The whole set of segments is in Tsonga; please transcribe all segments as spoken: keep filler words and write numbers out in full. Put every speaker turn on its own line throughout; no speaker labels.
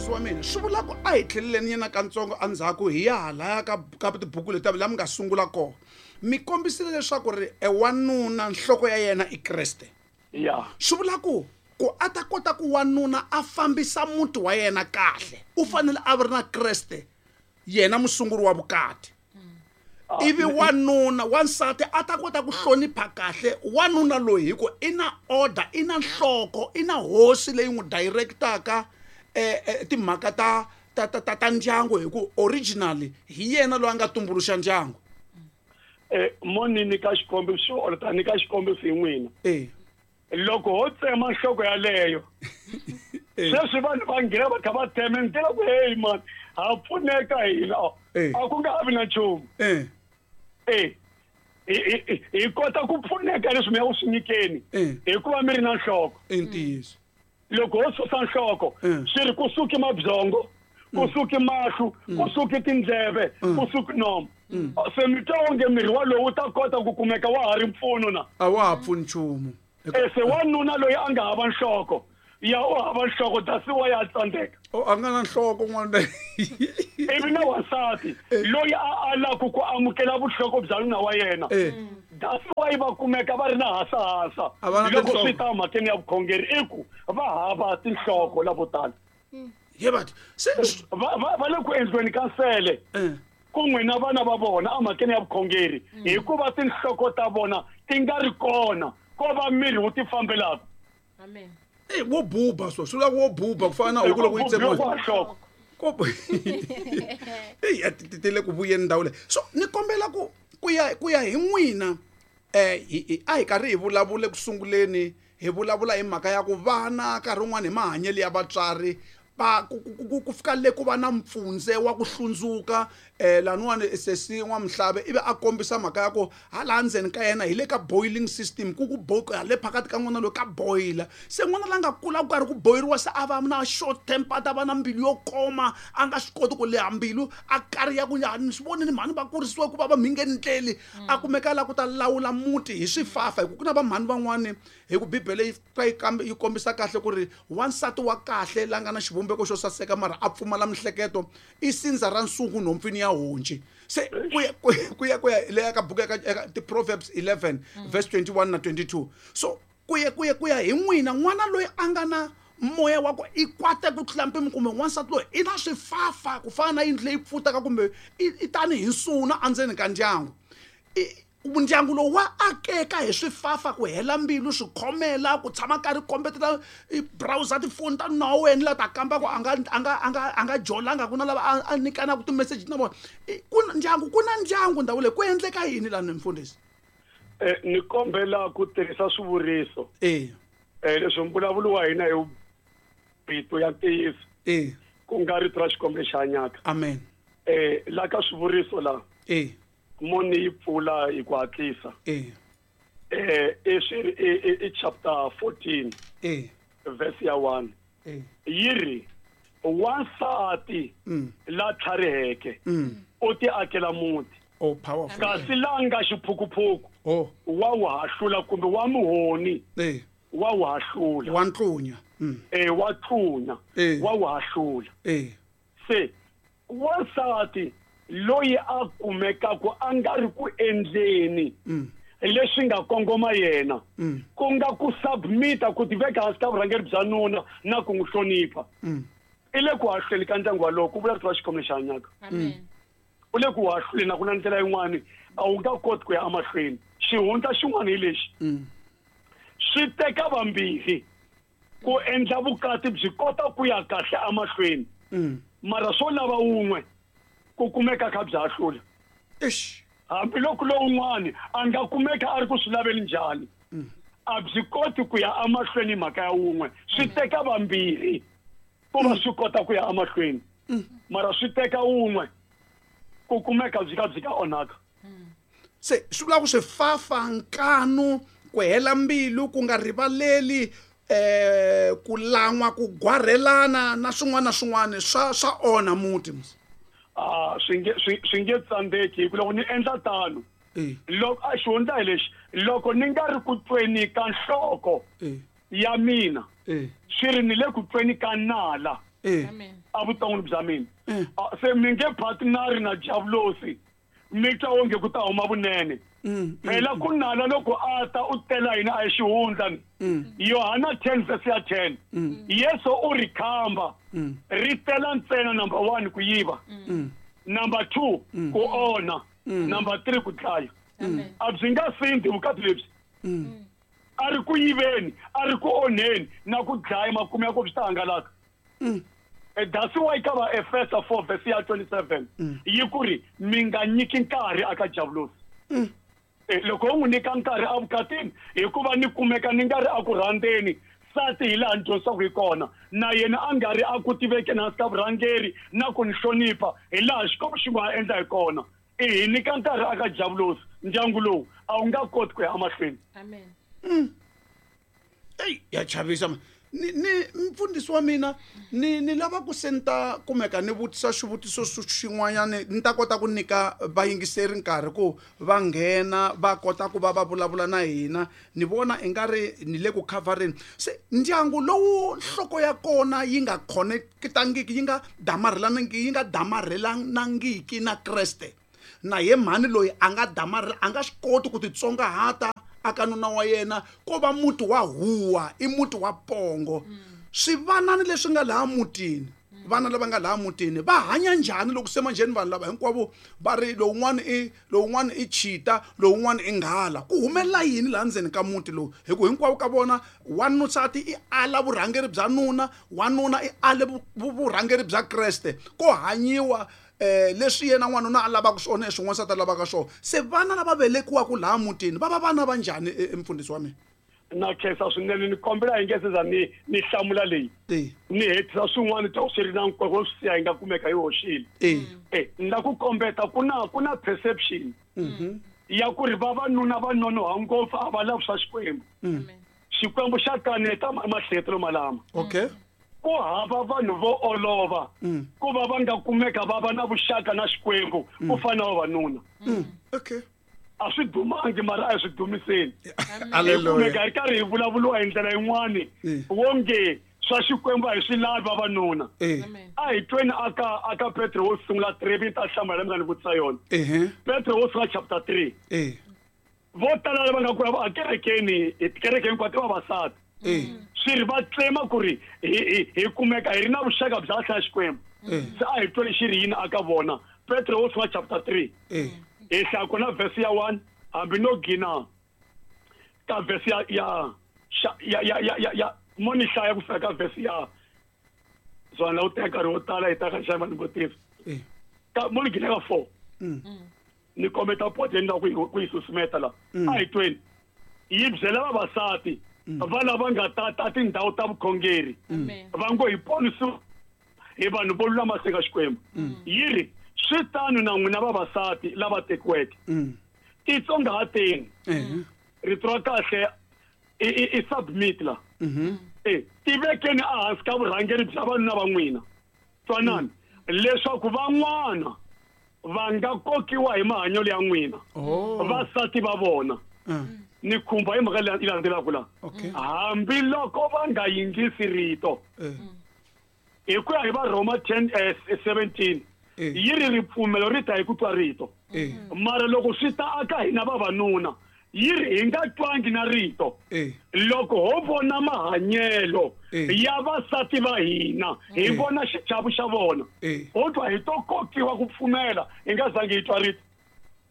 Mufundhisi wa mina, swi vula ku a hi tlheleleni yena katsongo endzhaku hi ya halaya ka ka tibuku leti la mi nga sungula kona. Mi kombisile leswaku ri e wanuna nhloko ya yena i Kreste.
Ya.
Swi vula ku ku a ta kota ku wanuna a fambisa muti wa yena kahle, u fanele a ri na Kreste, yena musunguri wa vukati. Ivi wanuna wansati a ta kota ku hlonipha kahle wanuna loyi hi ku i na order, i na nhloko, i na hosi leyi n'wi directaka eh, eh, timhaka ta ta ta ta ta ndyangu, hi ku originally hi yena loyi a nga tumbuluxa ndyangu.
Eh, mo ni nyika xikombiso or ta nyika xikombiso hi n'wina.
Eh.
Loko ho tsema nhloko yaleyo, sweswi vanhu va nghena va kha va tsema ni tiva ku hey man, ha pfuneka hina.
Eh.
A ku nga ha vi na nchumu.
Eh.
Eh. Hi, hi, hi, hi kota ku pfuneka leswi mi ya ku swi nyikeni.
Eh.
Hikuva mi ri na nhloko.
I ntiyiso.
Loko ho susa nhloko,
Eh.
swi ri ku suki mabyongo, ku suki mahlo, ku suki tindleve, ku suki nomu. Se mi twa onge miri walowu wu ta kota ku kumeka wa ha ri mpfuno na?
A wa ha pfuni nchumu.
Eh, se wanuna loyi a nga hava nhloko, ya u hava nhloko, that's why a tsandzeka.
Oh, a nga na nhloko n'wana.
Ivi na wansati loyi a alaku ku amukela vuhloko bya nuna wa yena.
Eh.
That's why va kumeka va ri na hasahasa.
A va na
Loko
tinhloko.
swi ta mhakeni ya vukhongeri, i ku va hava tinhloko lavo tala.
Ye batho, se
Va, va, va le ku endliweni ka nsele.
Eh.
Ku n'wina vana va vona emhakeni ya vukhongeri, hikuva tinhloko ta vona ti nga ri kona, ko va miri wu ti fambelaka.
Amen.
Eh, wo buba so, swi vula ku wo buba ku fana na huku loko yi tsemiwa.
Loko nhloko.
Ko bu- Eyi, a ti, ti, ti le ku vuyeni ndhawu leyi. So ni kombela ku, ku ya, ku ya hi n'wina, eh, hi, hi, a hi karhi hi vulavula eku sunguleni, hi vulavula hi mhaka ya ku vana nkarhi wun'wani hi mahanyelo ya vatswari, va ku, ku, ku, ku, ku fika le ku va na mpfundze wa ku hlundzuka, eh, laniwani sesi N'wamuhlave ivi a kombisa mhaka ya ku hala ndzeni ka yena hi le ka boiling system, ku ku bo-, le phakati ka n'wana loyi ka boila. Se n'wana la nga kula ku karhi ku boyiriwa, se a va na short temper, a ta va na mbilu yo koma, a nga swi koti ku leha mbilu, a kariha ku ya, ni swi vonile mhani va kurisiwe ku va va mhingeni ndleli. A kumeka la ku ta lawula muti hi swifafa, hi ku ku na vamhani van'wani, hi ku Bibele yi ka yi kambe yi kombisa kahle ku ri wansati wa kahle la nga na xivumbeko xo saseka mara a pfumala mihleketo i sindza ra nsungu nhompfini ya honci. Se ku ya, ku ya, ku ya, ku ya leya ka buku ya ka, eka ti-Proverbs eleven,
Mm.
verse twenty-one na twenty-two. So ku ya, ku ya, ku ya hi n'wina, n'wana loyi a nga na moya wa ku i kwate ku tlula mpimo, kumbe n'wansati loyi i na swifafa ku fana na yindlu leyi pfutaka, kumbe i, i tanihi nsuna endzeni ka ndyangu. I, ndyangu lowu wa akeka hi swifafa, ku hela mbilu, swikhomela, ku tshama karhi kombetela i browser tifoni ta nuna wa wena la ta kamba ku a nga, a nga, a nga, a nga jolanga, ku na lava a, a nyikanaka ti-message na vona. I, ku na ndyangu, ku na ndyangu ndhawu leyi, ku endleka yini lani mfundhisi?
Eh, ni kombela ku tirhisa swivuriso.
Eh.
Eh, leswi mbulavulo wa hina hi rito ya ntiyiso.
Eh.
Ku nga rito ra Xikwembu lexi hanyaka.
Amen.
Eh, la ka swivuriso la.
Eh.
Moni yi pfula hi ku hatlisa.
Eh.
Eh, i swi, i, i, i chapter fourteen.
Eh.
Verse ya one.
Eh.
Yi ri, wansati
Mm.
la tlhariheke,
Mm.
u ti akela muti.
Oh, powerful.
Kasi la nga xiphukuphuku,
Oh.
wa wu hahlula kumbe wa muhoni,
Eh.
wa wu hahlula.
Wa ntlunya. Mm.
Eh, wa tlunya.
Eh.
Wa wu hahlula.
Eh.
Se wansati loyi a kumekaku a nga ri ku endleni
Mm.
leswi nga kongoma yena,
Mm.
ku nga ku submita, ku tiveka hansi ka vurhangeri bya nuna na ku n'wi hlonipha.
Mm.
I le ku hahluleni ka ndyangu walowo, ku vula rito ra Xikwembu lexi hanyaka.
Amen.
U le ku hahluleni, a ku na ndlela yin'wani, a wu nga koti ku ya emahlweni. Xihundla xin'wana hi lexi.
Mm.
Swi teka vambirhi ku endla vukati byi kota ku ya kahle emahlweni.
Mm.
Mara swo lava wun'we ku kumeka kha byi hahlula.
Eish.
Hambiloko lowun'wani a nga kumeka a ri ku swi laveli njhani,
Mm.
a byi koti ku ya emahlweni mhaka ya wun'we. Swi teka vambirhi ku va swi kota ku ya emahlweni.
Mm.
Mara swi teka wun'we ku kumeka byi ka byi ka onhaka.
Se swi vula ku swifafa, nkanu, ku hela mbilu, ku nga rivaleli, eh, ku lan'wa, ku gwarhelana na swin'wana na swin'wana swa, swa onha muti mos.
Ah, swi nge, swi, swi nge tsandzeki, hi ku loko ni endla tano,
Eh.
loko a xihundla hi lexi, loko ni nga ri ku tweni ka nhloko
Eh.
ya mina,
Eh.
swi ri ni le ku tweni ka nala. Evuton'wini bya mina. Se mi nge partneri na Diablosi mi twa onge ku ta huma vunene. Phela ku nala loko a ta u tela hina a hi xihundla. Yohana ten verse ya ten. Yesu u ri khamba ri tela ntsena number one ku yiva. Number two ku onha. Number three ku dlaya. A byi nga sindi vukati lebyi. A ri ku yiveni, a ri ku onheni na ku dlaya makumu ya ku swi ta hangalaka. That's why ka va Efesa four verse ya twenty-seven yi ku ri mi nga nyiki nkarhi aka Diablosi. Loko u n'wi nyika nkarhi evukatini hikuva ni kumeka ni nga ri a ku rhandzeni sati hi laha ni dyondzisaka hi kona na yena a nga ri a ku tivekeni hansi ka vurhangeri na ku ni hlonipha hi laha Xikwembu xi nga endla hi kona. I hi nyika nkarhi aka Diablosi ndyangu lowu a wu nga koti ku ya emahlweni.
Amen.
Ey ya chavisa ni ni mfundhisi wa mina ni ni lava ku senta kumeka ni vutisa xivutiso xin'wanyana ni ta kota ku nyika vayingiseri nkarhi ku va nghena va kota ku va va vulavula na hina. Ni vona i nga ri ni le ku covereni se ndyangu lowu nhloko ya kona yi nga connectangiki yi nga damarhelanangiki yi nga damarhelanangiki na Kreste na ye mhani loyi a nga damarhela a nga swi koti ku titsongahata aka nuna wa yena ko va muti wa huwa i muti wa pongo. Swivanani leswi nga laha mutini vana lava nga laha mutini va hanya njhani loko se manjheni vanhu lava hinkwavo va ri lowun'wana i lowun'wana i chita lowun'wana i nghala ku humelela yini laha ndzeni ka muti lowu hi ku hinkwavo ka vona wanusati i ala vurhangeri bya nuna wanuna i ale vurhangeri bya Kreste ko hanyiwa eh leswi yena n'wanuna a lavaka swona leswi n'wansati a lavaka swona. Se vana lava velekiwaka laha mutini va va vana va njhani mfundhisi wa mina?
Na khensa swinene ni kombela hi nge se za ni ni hlamula leyi ni hetisa swin'wana ta swi ri na nkoka swi siya hi nga kumeka yi hoxile. Eh ni la ku kombeta ku na ku na perception ya ku ri vavanuna va nonoha ngopfu a va lavi swa Xikwembu. Xikwembu xa kaneta mahletelo malama.
Okay.
Ku hava vanhu vo olova ku va va nga kumeka va va na vuxaka na Xikwembu ku fana na vavanuna.
Okay.
A swi dumangi mara a hi swi dumiseni.
Hallelujah.
Kumeka hi karhi hi vulavuriwa hi ndlela yin'wani wonge swa Xikwembu a hi swi lavi vavanuna. A hi tweni aka aka Petro wo sungula three mi ta hlamula mi nga ni vutisa yona. Petro wo sungula chapter three. Vo tala lava nga ku ya ekerekeni tikereke hinkwato i vavasati. Swi ri va tsema ku ri hi hi kumeka hi ri na vuxaka bya hlaya Xikwembu. Se a hi tweli xi ri yini aka vona Petro wo sungula chapter three. Hi hlaya kona verse ya one hambi no gina ka verse ya ya ya ya ya ya mo ni hlaya ku fika ka verse ya zwana u teka nkarhi wo tala hi ta ka xava ni vutisa ka mo ni gina ka four ni kombeta pote ni lava ku yi susumeta la a hi tweni yi byela vavasati va lava nga tata tindhawu ta vukhongeri va ngo hi ponisiwa hi vanhu vo lulama eka Xikwembu. Yi ri swi tano na n'wina vavasati lava tekiweke titsongahateni. Rito ra kahle i i submit la eh tivekeni ehansi ka vurhangeri bya vanuna va n'wina twanani leswaku van'wana va nga kokiwa hi mahanyelo ya n'wina vasati va vona. Ni khumba hi mhaka leyi landzelaka la hambiloko va nga yingisi rito hi ku ya hi va Roma ten seventeen yi ri ripfumelo ri ta hi ku twa rito mara loko swi ta aka hina vavanuna yi ri hi nga twangi na rito loko ho vona mahanyelo ya vasati va hina hi vona xichavo xa vona ho twa hi to kokiwa ku pfumela hi nga zangi hi twa rito.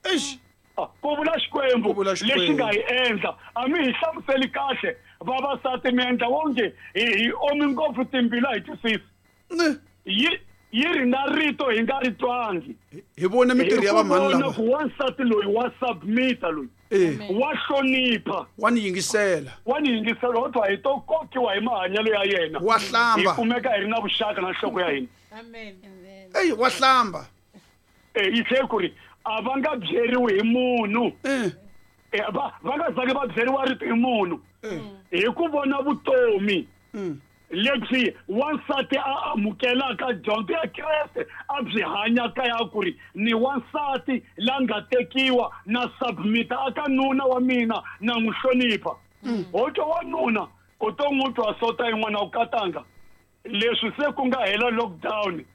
Eish
ku vula Xikwembu lexi nga hi endla a mi hi hlamuseli kahle vavasati mi endla wonge hi hi omi ngopfu timbilu a hi twisisi yi yi ri na rito hi nga ri twangi
hi vone mintirho ya vamhani lava
ku wansati loyi wa submita loyi wa hlonipha
wa ni yingisela
wa ni yingisela ho twa hi to kokiwa hi mahanyelo ya yena
wa hlamba
hi kumeka hi ri na vuxaka na nhloko ya hina.
Amen.
Ey wa hlamba
eh yi tlhe ku ri a va nga byeriwi hi munhu va va nga zangi va byeriwa rito hi munhu hi ku vona vutomi lebyi wansati a amukelaka dyondzo ya Kreste a byi hanyaka ya ku ri ni wansati la nga tekiwa na submita aka nuna wa mina na n'wi hlonipha. Ho twa wanuna u to n'wi twa sota yin'wana u katanga Leswi se ku nga hela lockdown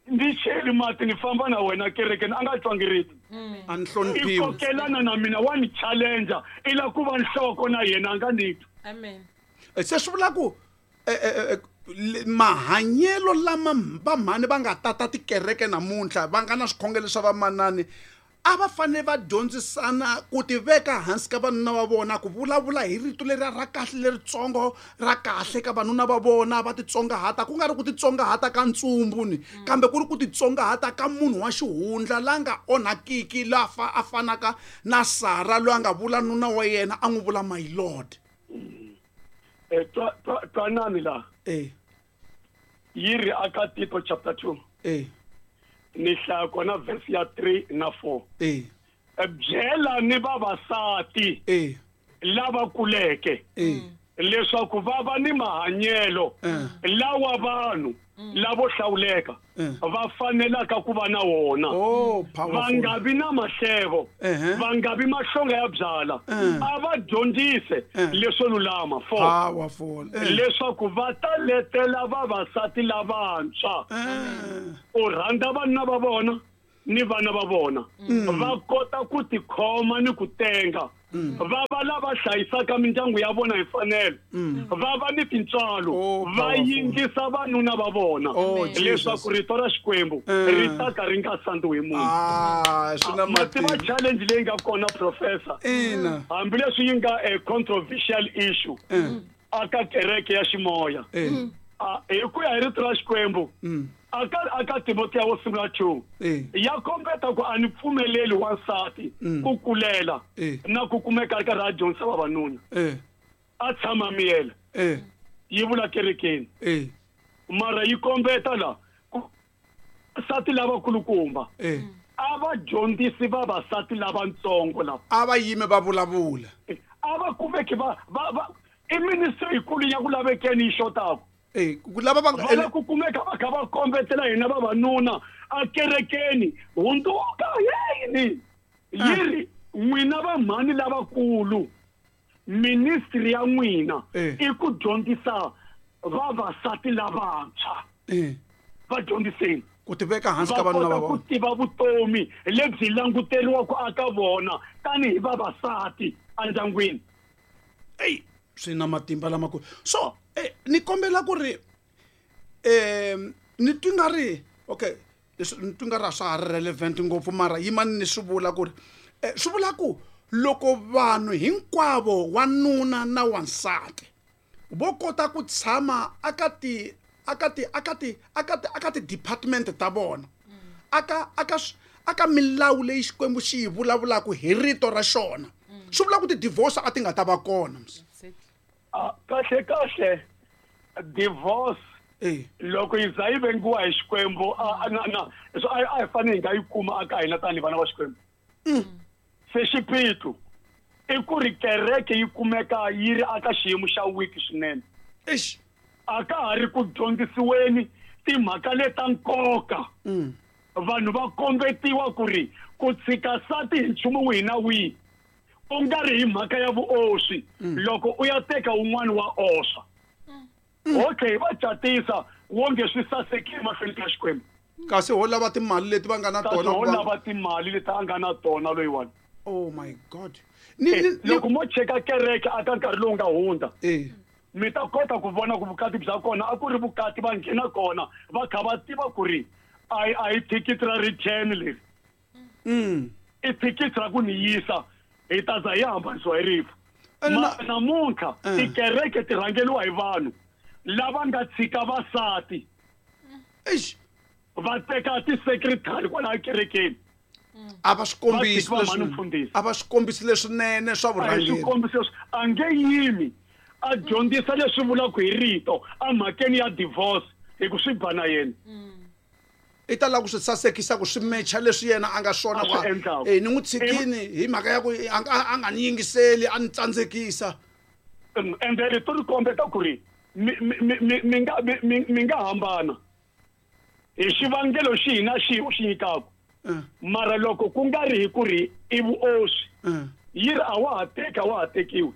ni cheli mati ni famba na wena kerekeni a nga twangi rito.
A ni hloniphiwi.
I kokelana na mina wa ni challenger i la ku va nhloko na yena a nga ni twi.
Amen.
Se swi vula ku mahanyelo lama vamhani va nga tata tikereke namuntlha va nga na swikhongelo swa vamanani a va fanele va dyondzisana ku tiveka hansi ka vanuna va vona ku vulavula hi rito leri ra kahle leritsongo ra kahle ka vanuna va vona va titsongahata ku nga ri ku titsongahata ka ntsumbu ni kambe ku ri ku titsongahata ka munhu wa xihundla la nga onhakiki la fa a fanaka na Sara loyi a nga vula nuna wa yena a n'wi vula my lord.
Eh twanani la
eh
yi ri aka Tito chapter two
eh
ni hlaya kona verse ya three na four.
Eh
byela ni vavasati
eh
lava kuleke
eh
leswaku va va ni mahanyelo lawa vanhu lavo hlawuleka va fanelaka ku va na wona. Va nga vi na mahlevo, va nga vi mahlonga ya byala, a va dyondzise leswo lulama four leswaku va ta letela vavasati lavantshwa u rhandza vanuna va vona ni vana va vona va kota ku tikhoma ni ku tenga va va lava hlayisaka mindyangu ya vona hi mfanelo va va ni tintswalo va yingisa vanuna va vona leswaku rito ra Xikwembu ri ta ka ri nga sandziwi hi munhu. Mativa challenge leyi nga kona professor hambileswi yi nga a controversial issue aka kereke ya ximoya hi ku ya hi rito ra Xikwembu aka aka Timothea wo sungula two ya kombeta ku a ni pfumeleli wansati ku kulela na ku kumeka ri karhi a dyondzisa vavanuna a tshama miyela yi vula kerekeni mara yi kombeta la ku sati lavakulukumba a va dyondzisi vavasati lavatsongo lava
a va yime va vulavula
a va kumeki va va i ministry yikulu ya ku lavekeni yi xotaka.
Eh ku lava va
nga ku kumeka va kha va kombetela hina vavanuna a kerekeni hundzuka yini yi ri n'wina vamhani lavakulu ministry ya n'wina i ku dyondzisa vavasati lavantshwa va dyondziseni
ku tiveka hansi ka vanuna va
vona ku tiva vutomi lebyi languteriwaka aka vona tanihi vavasati endyangwini.
Ey swi na matimba lamakulu so eh ni kombela ku ri eh ni twi nga ri okay leswi ni twi nga ri a swa ha ri relevant ngopfu mara yimani ni swi vula ku ri swi vula ku loko vanhu hinkwavo wanuna na wansati vo kota ku tshama aka ti aka ti aka ti aka ti aka ti department ta vona aka aka aka milawu leyi Xikwembu xi yi vulavulaka hi rito ra xona swi vula ku ti-divorce a ti nga ta va kona.
Kahle kahle divorce loko yi za yi vengiwa hi Xikwembu a na na a hi fanele hi nga yi kuma aka hina tanihi vana va Xikwembu. Se xiphiqo i ku ri kereke yi kumeka yi ri aka xiyimo xa weak swinene.
Eish
a ka ha ri ku dyondzisiweni timhaka leta nkoka. Vanhu va kombetiwa ku ri ku tshika sati hi nchumu wihi na wihi u nga ri hi mhaka ya vuoswi loko u ya teka un'wana wa oswa. Okay va catisa wonge swi sasekile mahlweni ka Xikwembu
kasi ho lava timali leti va nga na tona
ho lava timali leti a nga na tona loyiwani.
Oh my god.
Ni loko mo cheka kereke aka nkarhi lowu nga hundza mi ta kota ku vona ku vukati bya kona a ku ri vukati va nghena kona va kha va tiva ku ri a a hi thikithi ra return leri i thikithi ra ku ni yisa hi ta za hi hambanisiwa hi rifu. Namuntlha tikereke ti rhangeriwa hi vanhu lava nga tshika vasati
eish
va teka ti-secretary kwalaha kerekeni
a va swi kombisi leswi a va swi kombisi leswinene swa vurhangeri
swikombiso a nge yimi a dyondzisa leswi vulaka hi rito emhakeni ya divorce hi ku swi ba na yena
i ta lava ku swi sasekisa ku swi mecha leswi yena a nga swona ku eh ni n'wi tshikini hi mhaka ya ku a nga ni yingiseli a ni tsandzekisa.
Ende rito ri kombeta ku ri mi mi mi nga mi nga hambana hi xivangelo xihi na xihi u xi nyikaka mara loko ku nga ri hi ku ri i vuoswi yi ri a wa ha teki a wa ha tekiwi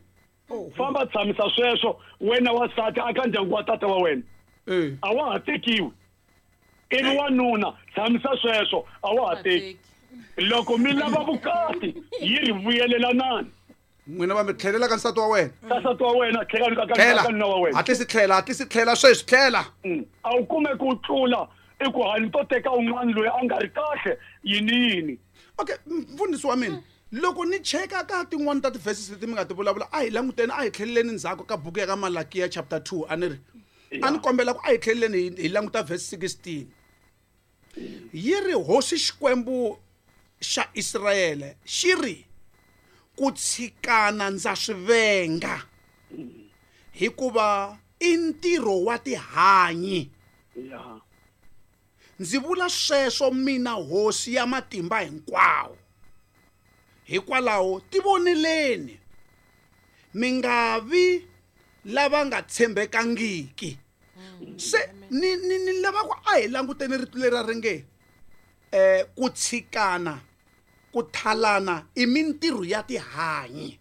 famba tshamisa sweswo wena wansati aka ndyangu wa tata wa wena. A wa ha tekiwi. I ri wanuna tshamisa sweswo a wa ha teki. Loko mi lava vukati yi ri vuyelelanani.
N'wina va mi tlhelela ka nsati wa wena.
Ka nsati wa wena tlhela ka ka nuna wa wena.
Hatlisi tlhela, hatlisi tlhela sweswi tlhela.
A wu kume ku tlula i ku hani to teka un'wana loyi a nga ri kahle yini yini.
Okay, mfundhisi wa mina. Loko ni cheka ka tin'wana ta ti-verses leti mi nga ti vulavula a hi languteni a hi tlheleleni ndzhaku ka buku ya ka Malakiya chapter two a ni ri. A ni kombela ku a hi tlheleleni hi languta verse sixteen. Yi ri hosi Xikwembu xa Israyele xi ri ku tshikana ndza swi venga hikuva i ntirho wa tihanyi. Ndzi vula sweswo mina hosi ya matimba hinkwawo. Hikwalaho tivoneleni mi nga vi lava nga tshembekangiki. Se ni ni ni lava ku a hi languteni rito leri ri nge eh ku tshikana ku thalana i mintirho ya tihanyi.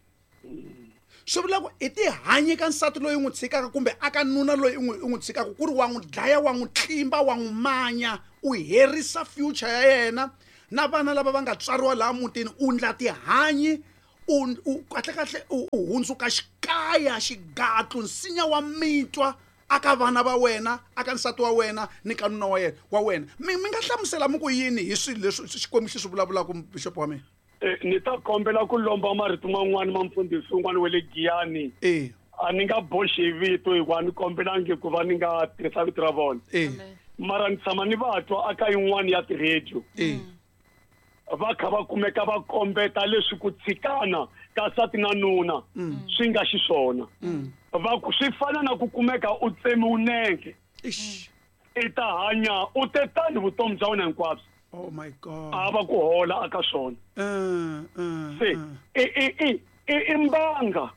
Swi vula ku i tihanyi ka nsati loyi u n'wi tshikaka kumbe aka nuna loyi u n'wi u n'wi tshikaka ku ri wa n'wi dlaya wa n'wi tlimba wa n'wi manya u herisa future ya yena na vana lava va nga tswariwa laha mutini u ndla tihanyi u u kahle kahle u hundzuka xikaya xigatlu nsinya wa mitwa aka vana va wena aka nsati wa wena ni ka nuna wa yena wa wena. Mi mi nga hlamusela mi ku yini hi swilo leswi Xikwembu xi swi vulavulaka bishop wa mina?
Ni ta kombela ku lomba marito man'wani ma mfundhisi un'wana wa le Giyani.
Eh.
A ni nga boxi hi vito hikuva ni kombelangi ku va ni nga tirhisa vito ra vona.
Eh.
Mara ni tshama ni va twa aka yin'wani ya ti-radio.
Eh.
Va kha va kumeka va kombeta leswi ku tshikana ka nsati na nuna swi nga xiswona. Va ku swi fana na ku kumeka u tsemiwe nenge.
Ish.
I ta hanya u te tani vutomi bya wena hinkwabyo.
Oh my God.
A va ku hola aka swona.
Eh eh.
Se i i i i mbanga.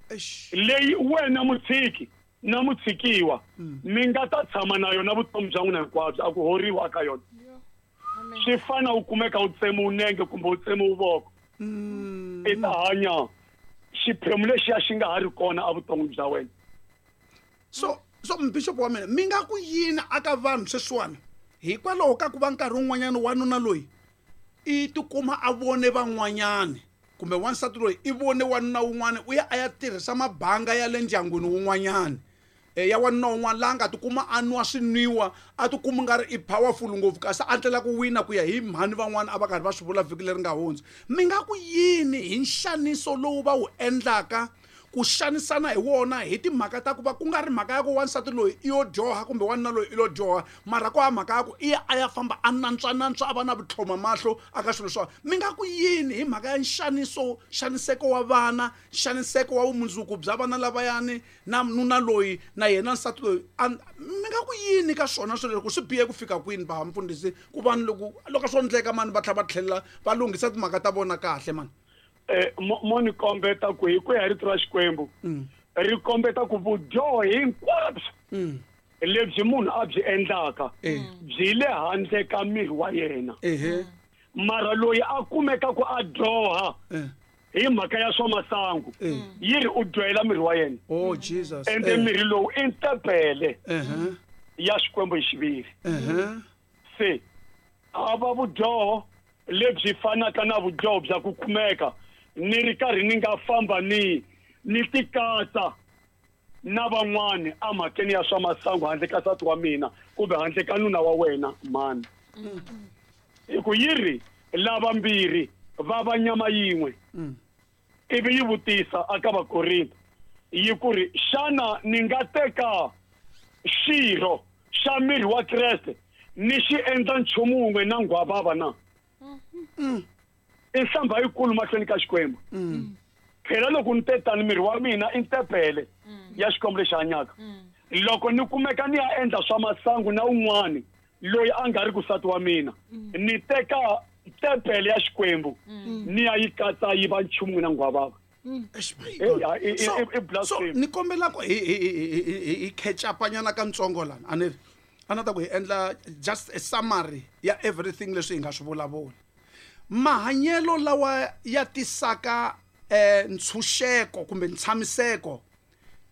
Eish.
Leyi wena mutshiki na mutshikiwa mi nga ta tshama na yona vutomi bya n'wina hinkwabyo a ku horiwa aka yona. Swi fana u kumeka u tsemiwe nenge kumbe u tsemiwe voko. I ta hanya xiphemu lexiya xi nga ha ri kona evuton'wini bya wena.
So so bishop wa mina mi nga ku yini aka vanhu sweswiwani hikwalaho ka ku va nkarhi wun'wanyana wanuna loyi i tikuma a vone van'wanyani kumbe wansati loyi i vone wanuna wun'wana u ya a ya tirhisa mabanga ya le ndyangwini wun'wanyana ya wanuna wun'wana laha nga tikuma a nwa swinwiwa a tikuma nga ri i powerful ngopfu kasi a ndlela ku wina ku ya hi mhani van'wana a va karhi va swi vula vhiki leri nga hundza. Mi nga ku yini hi nxaniso lowu va wu endlaka ku xanisana hi wona hi timhaka ta ku va ku nga ri mhaka ya ku wansati loyi i yo dyoha kumbe wanuna loyi i lo dyoha mara ku ha mhaka ya ku i ya a ya famba a nantswanantswa a va na vutlhoma mahlo aka swilo swa mi nga ku yini hi mhaka ya nxaniso nxaniseko wa vana nxaniseko wa vumundzuku bya vana lavayani na nuna loyi na yena nsati loyi mi nga ku yini ka swona swilo loko swi bihe ku fika kwini va mfundhisi ku vanhu loko loko swo ndleka mani va tlhela va tlhelela va lunghisa timhaka ta vona kahle mani.
Eh mo ni kombeta ku hi ku ya rito ra Xikwembu ri kombeta ku vudyoho hinkwabyo lebyi munhu a byi endlaka byi le handle ka miri wa yena. Mara loyi a kumeka ku a dyoha hi mhaka ya swa masangu yi ri u dyohela miri wa yena.
Oh Jesus.
Ende miri lowu i ntempele ya Xikwembu hi xiviri. Se a va vudyoho lebyi fanaka na vudyoho bya ku kumeka ni ri karhi ni nga famba ni ni tikatsa na van'wani emhakeni ya swa masangu handle ka nsati wa mina kumbe handle ka nuna wa wena mani. Hi ku yi ri lavambirhi va va nyama yin'we. Ivi yi vutisa aka Vakorinto yi ku ri xana ni nga teka xirho xa miri wa Kreste ni xi endla nchumu wun'we na nghwavava na? I nhlamba yikulu mahlweni ka Xikwembu. Phela loko ni tetani miri wa mina i ntempele ya Xikwembu lexi hanyaka. Loko ni kumeka ni ya endla swa masangu na un'wani loyi a nga ri ku nsati wa mina ni teka tempele ya Xikwembu ni ya yi katsa yi va nchumu na nghwavava.
So ni kombela ku hi hi hi catch up nyana ka ntsongo lana a ni ri a na ta ku hi endla just a summary ya everything leswi hi nga swi vulavula. Mahanyelo lawa ya tisaka eh ntshunxeko kumbe ntshamiseko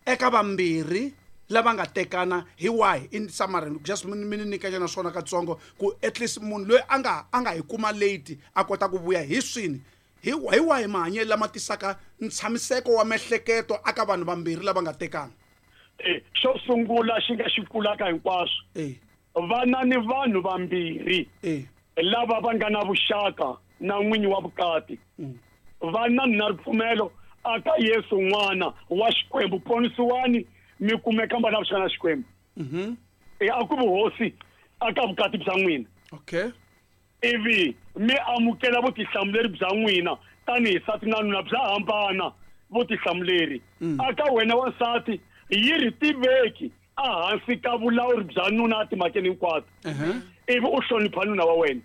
eka vambirhi lava nga tekana hi wahi in summary just mi ni nyika nyana swona katsongo ku at least munhu loyi a nga a nga hi kuma late a kota ku vuya hi swini hi hi wahi mahanyelo lama tisaka ntshamiseko wa miehleketo aka vanhu vambirhi lava nga tekana.
Eh xo sungula xi nga xi kulaka hinkwaswo
eh
vana ni vanhu vambirhi
eh
lava va nga na vuxaka na n'winyi wa vukati vana na ripfumelo aka Yesu n'wana wa Xikwembu ponisiwani mi kumeka va na vuxaka na Xikwembu.
Mhm.
E a ku vuhosi aka vukati bya n'wina.
Okay.
Ivi mi amukela vutihlamuleri bya n'wina tanihi nsati na nuna bya hambana vutihlamuleri. Aka wena wansati yi ri tiveki ehansi ka vulawuri bya nuna timhakeni hinkwato. Ivi u hlonipha nuna wa wena.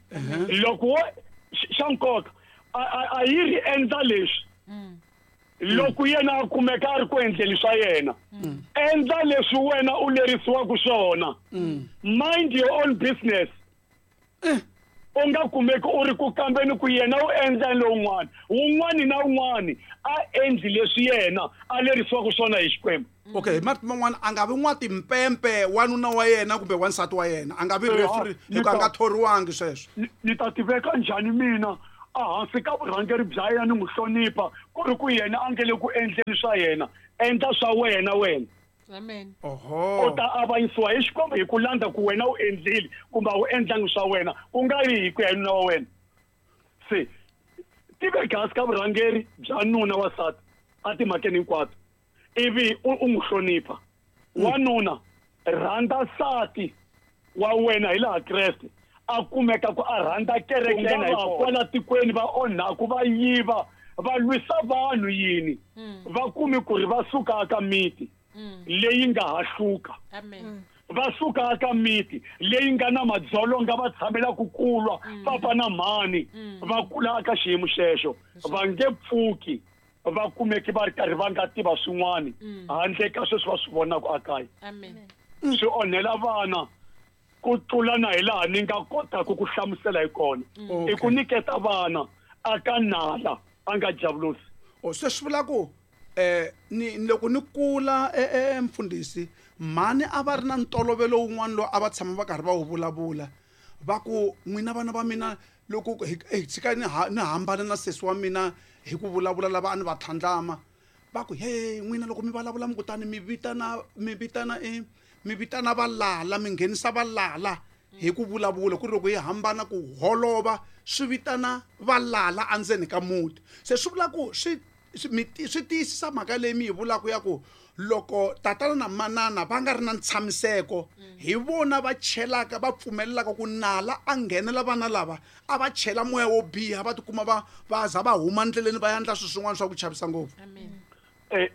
Loko wo xa nkoka a yi ri endla leswi loko yena a kumeka a ri ku endleni swa yena endla leswi wena u lerisiwaka swona. Mind your own business. U nga kumeki u ri ku kambeni ku yena u endla lowun'wana wun'wani na wun'wani a endli leswi yena a lerisiwaka swona hi Xikwembu.
Okay, marito man'wana a nga vi n'watimpempe wanuna wa yena kumbe wansati wa yena a nga vi referee hikuva a nga thoriwangi sweswo.
Ni ta tiveka njhani mina ehansi ka vurhangeri bya yena ni n'wi hlonipha ku ri ku yena a nge le ku endleni swa yena endla swa wena wena.
Amen.
Oho.
U ta avanyisiwa hi Xikwembu hi ku landza ku wena u endlile kumbe a wu endlangi swa wena ku nga ri hi ku ya hi nuna wa wena. Se tiveka hansi ka vurhangeri bya nuna wa nsati a timhakeni hinkwato ivi u n'wi hlonipha. Wanuna rhandza nsati wa wena hi laha Kreste a kumeka ku a rhandza kereke yena hi kwala tikweni va onhaku va yiva va lwisa vanhu yini va kumi ku ri va suka ka miti leyi nga hahluka.
Amen.
Va suka ka miti leyi nga na madzolonga va tshamela ku kulwa papa na mhani va kula ka xiyimo xexo va nge pfuki va kumeki va ri karhi va nga tiva swin'wana handle ka sweswi va swi vonaka ekaya.
Amen.
Swi onhela vana ku tlula na hi laha ni nga kotaka ku hlamusela hi kona. I ku nyiketa vana aka nala a nga javulosi.
O se swi vula ku eh ni loko ni kula eh mfundhisi mhani a va ri na ntolovelo wun'wana lowu a va tshama va karhi va wu vulavula va ku n'wina vana va mina loko hi tshika ni ni hambana na sesi wa mina hi ku vulavula lava a ni va tlhandlama va ku he n'wina loko mi vulavula mi kutani mi vitana mi vitana e mi vitana valala mi nghenisa valala hi ku vulavula ku ri loko hi hambana ku holova swi vitana valala endzeni ka muti. Se swi vula ku swi swi tiyisisa mhaka leyi mi yi vulaka ya ku loko tatana na manana va nga ri na ntshamiseko hi vona va chelaka va pfumelelaka ku nala a nghenela vana lava a va chela moya wo biha va tikuma va va za va huma ndleleni va endla swilo swin'wana swa ku chavisa ngopfu.
Amen.
Eh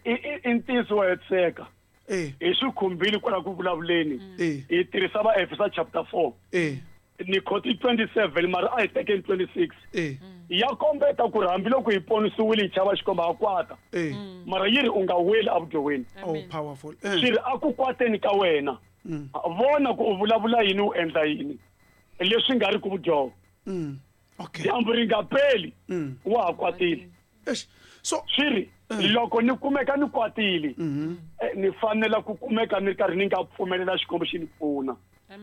i ntiyiso wa hetiseka.
Eh
hi swi khumbile kwala ku vulavuleni.
Eh
hi tirhisa va Efesa chapter four.
Eh
ni khoti twenty-seven mara a hi tekeni twenty-six.
Eh
ya kombeta ku ri hambiloko hi ponisiwile hi chava Xikwembu ha kwata.
Eh
mara yi ri u nga weli evudyohweni.
Oh powerful. Eh
swi ri a ku kwateni ka wena vona ku u vulavula yini u endla yini leswi nga ri ku vudyoho.
Mm. Okay.
Dyambu ri nga peli wa ha kwatile.
Eish. So
swi ri loko ni kumeka ni kwatile ni fanela ku kumeka ni ri karhi ni nga pfumelela Xikwembu xi ni pfuna.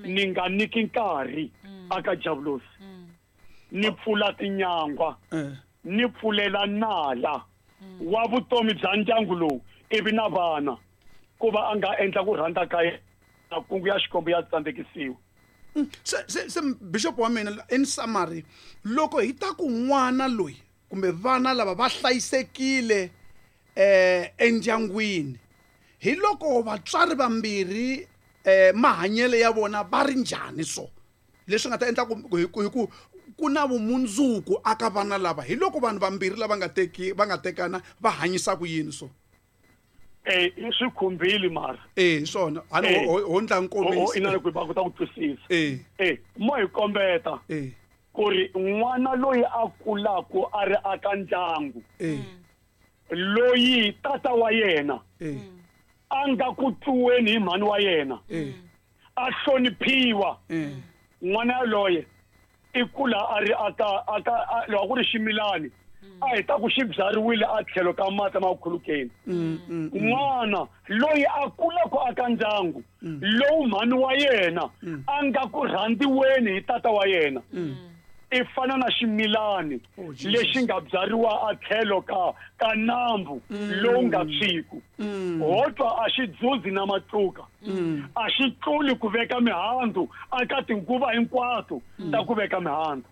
Ni nga nyiki nkarhi aka javulosi. Ni pfula tinyangwa ni pfulela nala wa vutomi bya ndyangu lowu ivi na vana ku va a nga endla ku rhandza ka yena makungu ya Xikwembu ya tsandzekisiwa.
Se se se bishop wa mina in summary loko hi ta ku n'wana loyi kumbe vana lava va hlayisekile eh endyangwini hi loko vatswari vambirhi eh mahanyelo ya vona va ri njhani so leswi nga ta endla ku hi ku ku na vumundzuku aka vana lava hi loko vanhu vambirhi lava nga teki va nga tekana va hanyisa ku yini so
eh i swi khumbile mara
eh swona a ni ho ndla nkomiso
ina ku ba kota ku twisisa
eh
eh mo hi kombeta
eh
ku ri n'wana loyi a kulaku a ri aka ndyangu
eh
loyi tata wa yena
eh
a nga ku tluweni hi mhani wa yena
eh
a hloniphiwa
eh
n'wana yaloye i kula a ri aka aka loko ku ri ximilani A hi ta ku xi byariwile a tlhelo ka mati ma khulukeni. N'wana loyi a kulaka aka ndyangu lowu mhani wa yena a nga ku rhandziweni hi tata wa yena i fana na ximilani lexi nga byariwa a tlhelo ka ka nambu lowu nga tshwiku. Ho twa a xi dzudzi na matluka, a xi tluli ku veka mihandzu aka tinguva hinkwato ta ku veka mihandzu.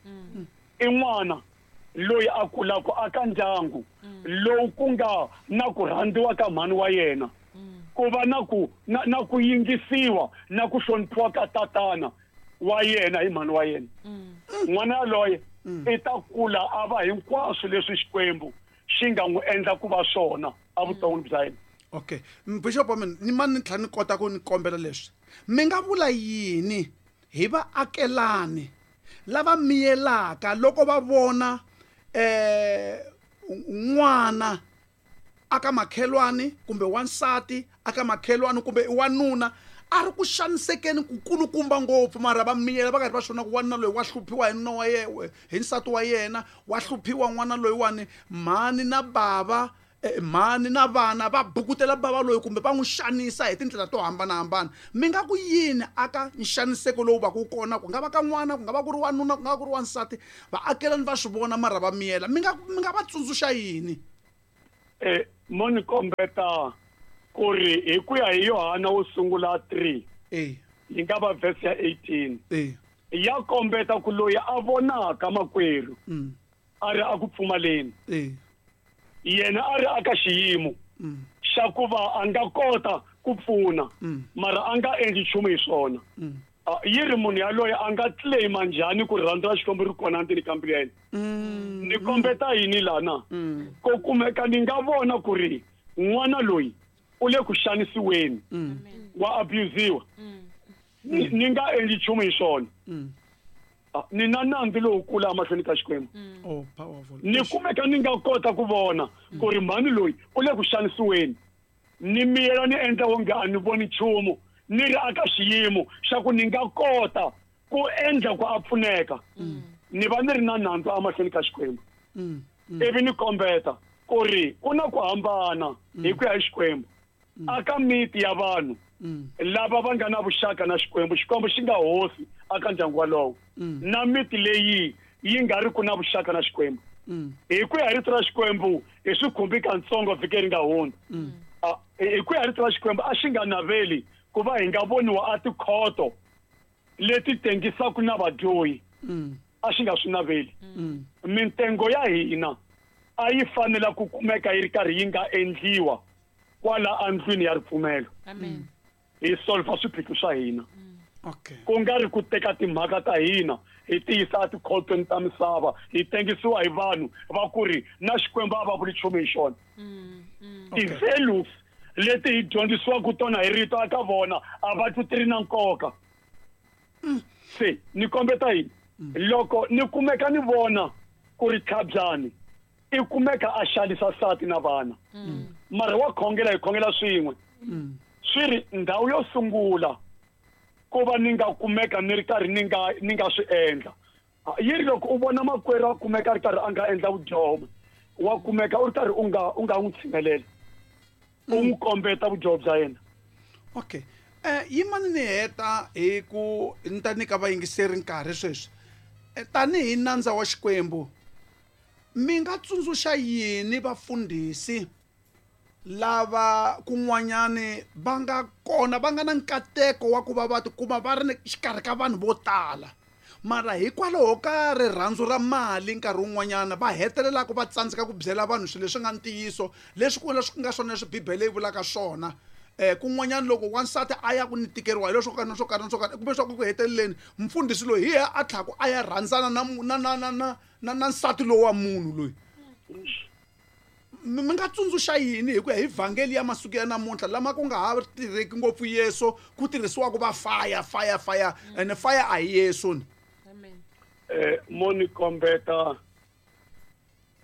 I n'wana loyi a kulaka aka ndyangu lowu ku nga na ku rhandziwa ka mhani wa yena, ku va na ku na, na ku yingisiwa na ku hloniphiwa ka tatana wa yena hi mhani wa yena. N'wana yaloye i ta kula a va hinkwaswo leswi Xikwembu xi nga n'wi endla ku va swona evuton'wini bya yena.
Okay, Bishop wa mina, ni mani ni tlhela ni kota ku ni kombela leswi, mi nga vula yini hi vaakelani lava miyelaka loko va vona eh n'wana aka makhelwani kumbe wansati aka makhelwani kumbe wanuna a ri ku xanisekeni ku kulukumba ngopfu, mara va miyela va karhi va swona ku wanuna loyi wa hluphiwa hi nuna wa yena, hi nsati wa yena, wa hluphiwa n'wana loyiwani, mhani na bava mhani na vana va bukutela bava loyi kumbe va n'wi xanisa hi tindlela to hambanahambana. Mi nga ku yini aka nxaniseko lowu va ku kona, ku nga va ka n'wana, ku nga va ku ri wanuna, ku nga va ku ri wansati, vaakelani va swi vona mara va miyela, mi nga mi nga va tsundzuxa yini?
Eh mo ni kombeta ku ri hi ku ya hi Yohana wo sungula three
eh
yi nga va verse ya eighteen
eh
ya kombeta ku loyi a vonaka makwerhu a ri a ku pfumaleni
eh
yena a ri aka xiyimo xa ku va a nga kota ku pfuna mara a nga endli nchumu hi swona. Yi ri munhu yaloye a nga claima njhani ku rirhandzu ra Xikwembu ri kona ndzeni ka mbilu ya yena? Ni kombeta yini lana? Ko kumeka ni nga vona ku ri n'wana loyi u le ku xanisiweni, wa abusiwa, ni nga endli nchumu hi swona, ni na nandzu lowukulu emahlweni ka Xikwembu.
Oh, powerful.
Ni kumeka ni nga kota ku vona ku ri mhani loyi u le ku xanisiweni, ni miyela ni endla wonge a ni voni nchumu, ni ri aka xiyimo xa ku ni nga kota ku endla ku a pfuneka, ni va ni ri na nandzu emahlweni ka Xikwembu. Ivi ni kombeta ku ri ku na ku hambana hi ku ya hi Xikwembu aka miti ya vanhu lava va nga na vuxaka na Xikwembu, Xikwembu xi nga hosi aka ndyangu walowo, na miti leyi yi nga ri ku na vuxaka na Xikwembu. Hi ku ya hi rito ra Xikwembu hi swi khumbi katsongo vhiki ri nga hundza. Hi ku ya hi rito ra Xikwembu a xi nga naveli ku va hi nga voniwa a tikhoto leti tengisaka na vadyohi, a xi nga swi naveli. Mintengo ya hina a yi fanela ku kumeka yi ri karhi yi nga endliwa kwala andlwini ya ripfumelo.
Amen.
Hi solva swiphiqo swa hina.
Okay.
Ku nga ri ku teka timhaka ta hina hi tiyisa etikhotweni ta misava, hi tengisiwa hi vanhu va ku ri na Xikwembu a va vuli nchumu hi xona. Ti-values leti hi dyondzisiwaka tona hi rito aka vona a va twi ti ri na nkoka. Se ni kombeta yini? Loko ni kumeka ni vona ku ri tlhabyani i kumeka a xanisa nsati na vana, mara wa khongela, hi khongela swin'we, swi ri ndhawu yo sungula ku va ni nga kumeka ni ri karhi ni nga ni nga swi endla. Yi ri loko u vona makwerhu a kumeka a ri karhi a nga endla vudyoho, wa kumeka u ri karhi u nga u nga n'wi tshinelela, u n'wi kombeta vudyoho bya yena.
Okay. Eh yimani ni heta hi ku ni ta nyika vayingiseri nkarhi sweswi. Tanihi nandza wa Xikwembu, mi nga tsundzuxa yini vafundhisi lava kun'wanyani va nga kona va nga na nkateko wa ku va va tikuma va ri xikarhi ka vanhu vo tala, mara hikwalaho ka rirhandzu ra mali nkarhi wun'wanyana va hetelelaka va tsandzeka ku byela vanhu swilo leswi nga ntiyiso, leswi ku leswi nga swona leswi Bibele yi vulaka swona? Eh kun'wanyana loko wansati a ya ku ni tikeriwa hi leswo karhi na swo karhi na swo karhi, kumbe swa ku heteleleni mfundhisi loyi hi yena a tlhaku a ya rhandzana na na na na na na na nsati lowu wa munhu loyi. Mi nga tsundzuxa yini hi ku ya hi vhangeli ya masiku ya namuntlha lama ku nga ha tirheki ngopfu Yesu, ku tirhisiwaka va fire fire fire, ene fire a hi Yesu ni?
Amen.
Eh mo ni kombeta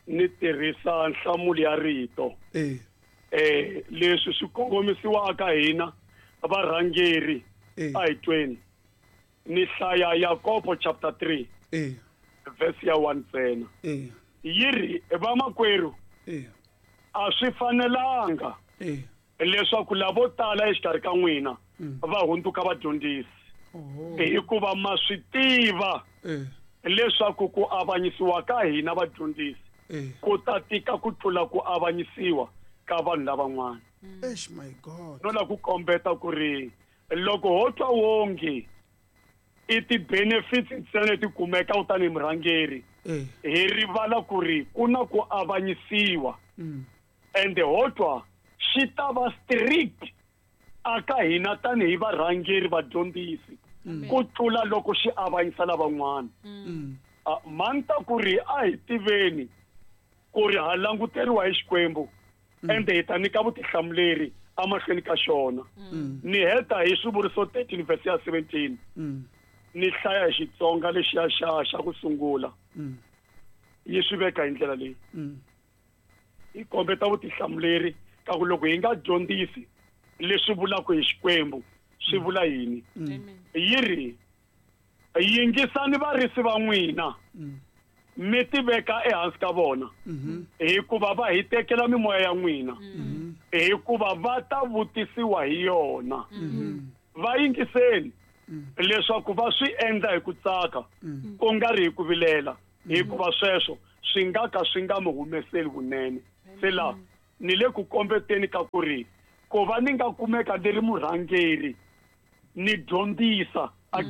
ni tirhisa nhlamulo ya rito.
Eh
eh leswi swi kongomisiwaka hina varhangeri a hi tweni. Ni hlaya Yakobo chapter three
eh
verse ya one ntsena.
Eh
Yi ri vamakwerhu a swi fanelanga leswaku lavo tala exikarhi ka n'wina va hundzuka vadyondzisi hikuva ma swi tiva leswaku ku avanyisiwa ka hina vadyondzisi ku ta tika ku tlula ku avanyisiwa ka vanhu lavan'wana.
Eish my God.
No la ku kombeta ku ri loko ho twa wonge i ti-benefits ntsena leti kumeka tanihi murhangeri hi rivala ku ri ku na ku avanyisiwa ende ho twa xi ta va strict aka hina tanihi varhangeri vadyondzisi ku tlula loko xi avanyisa lavan'wana. Mani ta ku ri a hi tiveni ku ri ha languteriwa hi Xikwembu ende hi ta nyika vutihlamuleri emahlweni ka xona. Ni heta hi swivuriso thirteen verse ya seventeen. Ni hlaya hi Xitsonga lexiya xa xa ku sungula. Yi swi veka hi ndlela leyi. Yi kombeta vutihlamuleri ka ku loko hi nga dyondzisi leswi vulaka hi Xikwembu swi vula yini. Yi ri yingisani varisi va n'wina mi ti veka ehansi ka vona hikuva va hi tekela mimoya ya n'wina hikuva va ta vutisiwa hi yona. Va yingiseni leswaku va swi endla hi ku tsaka ku nga ri hi ku vilela hikuva sweswo swi nga ka swi nga mi humeseli vunene. Se la ni le ku kombeteni ka ku ri ku va ni nga kumeka ni ri murhangeri ni dyondzisa a